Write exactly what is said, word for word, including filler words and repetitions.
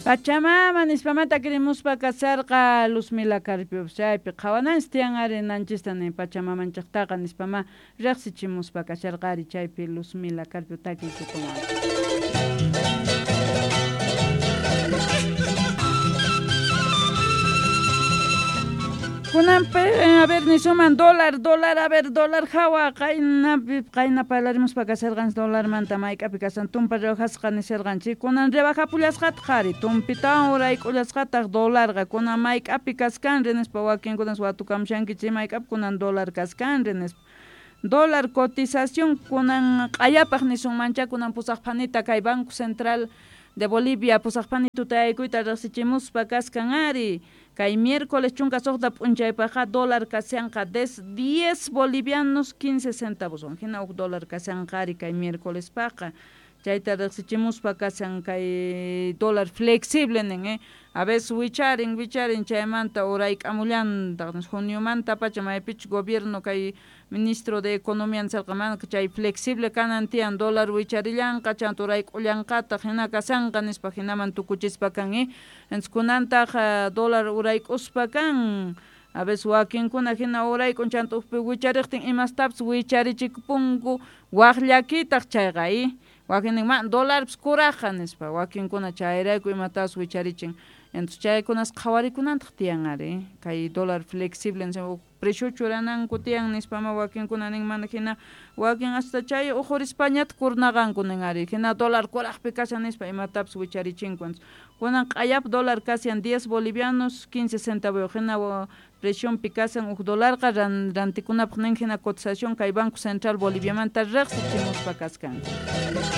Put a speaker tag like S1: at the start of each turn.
S1: Pachamama nispamanta kirimuspa kasarqa Luzmila Carpio chaypi qhawananchis tiyan ari nanchista nin pachamamanchiktaqa nispama riqsichimuspa kasharqa ari chaypi Luzmila Carpio takiykukunwan. Kunan a ver nisuman dólar, dólar, a ver, dólar hawa qaynapi qayna parlarimuspa kasharqanchis dólarmanta mayk'api kashan tumpa rebajasqa nisharqanchik kunan rebajapullasqataq ari tumpitawan urayk'ullasqataq dólarqa kunan mayk'api kaskanri nispa wakinkunas watukamushankichik mayk'api kunan dólar kaskanri nispa dólar cotización kunan q'ayapaq nisunmancha kunan pusaq phanita kay Banco Central de Bolivia pusaq phani tutayaykuyta riqsichimuspa kaskan ari kay miércoles chunka suqta p'unchaypaqqa dólar kashanqa des diez bolivianos quince centavos hina huk dólar kashanqa ari kay miércolespaqa chayta riqsichimuspa kashan kay dólar flexible nin eh a veces wicharin wicharin chaymanta urayk'amullantaq juniomanta pacha maypichus gobierno kay ministro de economía nisarqa mana chay flexible kanan tiyan dólar wicharillanqa chanta urayk'ullanqataq hina kashanqa nispa hinaman tukuchispa kan eh entonces kunantaq dólar urayk'uspa kan a veces wakinkuna hina urayk'un chanta ukpi wichariqtin imastapis wicharichikupunku waq llakitaq chayqa eh wakin ma dólarpis kuraqqa nispa wakinkuna chayrayku imatapas wicharichin entonces chaykunas qhawarikunantaq tiyan ari kay dólar flexible nispa precio churananku tiyan nispama wakinkuna nin mana hina wakin hasta chay ujurispañataq kurnaqanku nin ari hina dólar kuraqpi kashan nispa imatapis wicharichinku entonces kunan q'ayap dólar kashan diez bolivianos quince centavos hina precionpi kashan huk dólarqa rantikunapaq nin hina cotización kay Banco Central Boliviamanta riqsichimuspa kaskanku.